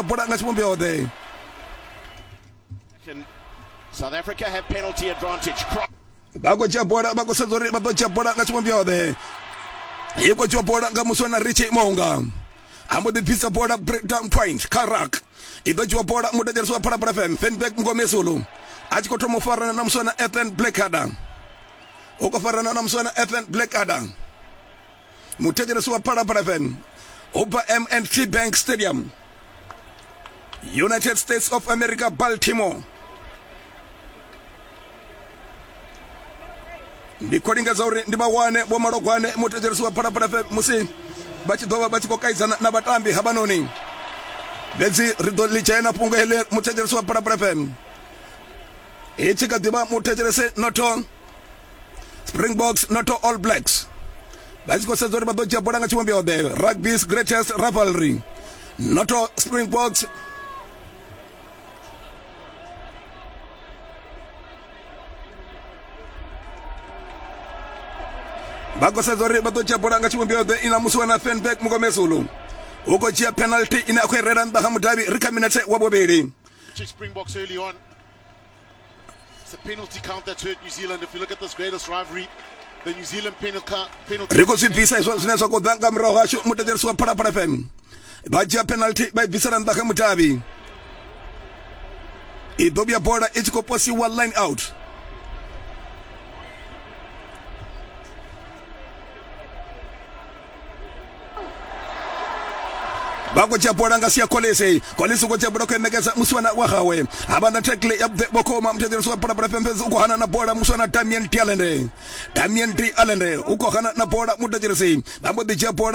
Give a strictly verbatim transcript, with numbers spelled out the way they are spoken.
Bola nga tshivhumbeo ḓe. South Africa have penalty advantage. Vha khou dzhia bola, vha khou sedza uri vha ḓo dzhia bola nga tshivhumbeo ḓe. I khou dzhiwa bola nga muswa na Richie Mounga. A mbo ḓi bvisa bola breakdown point kha ruck. I ḓo dzhiwa bola muthetshelesi wa Phalaphala F M Fenberg Mngomezulu a tshi khou thoma u farana na muswa na Ethan Blackadder. U khou farana na muswa na Ethan Blackadder. Muthetshelesi wa Phalaphala F M u bva M and T Bank Stadium, United States of America, Baltimore. Ndi khou lingedza uri ndi vha wane vho Malogwane muthetshelesi wa Phalaphala F M musi vha tshi ḓo vha vha tshi khou kaidzana na vhatambi havhanoni. Fhedzi ri ḓo ḽi dzhena fhungo heḽi muthetshelesi wa Phalaphala F M. I tshi kha ḓivha muthetshelesi noto Springboks noto All Blacks. Vha tshi khou sedza uri vha ḓo dzhia bola nga tshivhumbeo ḓe. Rugby's greatest rivalry. Noto Springboks vha khou sedza uri vha ḓo dzhia bola nga tshivhumbeo ḓe ina musi wana Fenberg Mngomezulu. U khou dzhia penalty ine a khou i rela nnḓa ha mudavhi ri kha minete wa vhuvhili. Springboks early on. It's a penalty count that's hurt New Zealand. If you look at this greatest rivalry, the New Zealand penalty. Ri khou zwi bvisa izwo zwine zwa khou ḓa nga murahu hashu muthetshelesi wa Phalaphala F M. Vha dzhia penalty vha i bvisela nnḓa kha mudavhi. I ḓo vhuya bola i tshi khou posiwa line out. Vha khou dzhia bola nga sia Kolisi. Kolisi u khou dzhia bola khou ṋekedza muswana wa hawe. Ha vha na tackle ya vhukuma muthetshelesi wa Phalaphala F M fhedzi u khou hana na bola muswana Damien Dialende. Damien Dialende u khou hana na bola muthetshelesi. Vha mbo ḓi dzhia bola.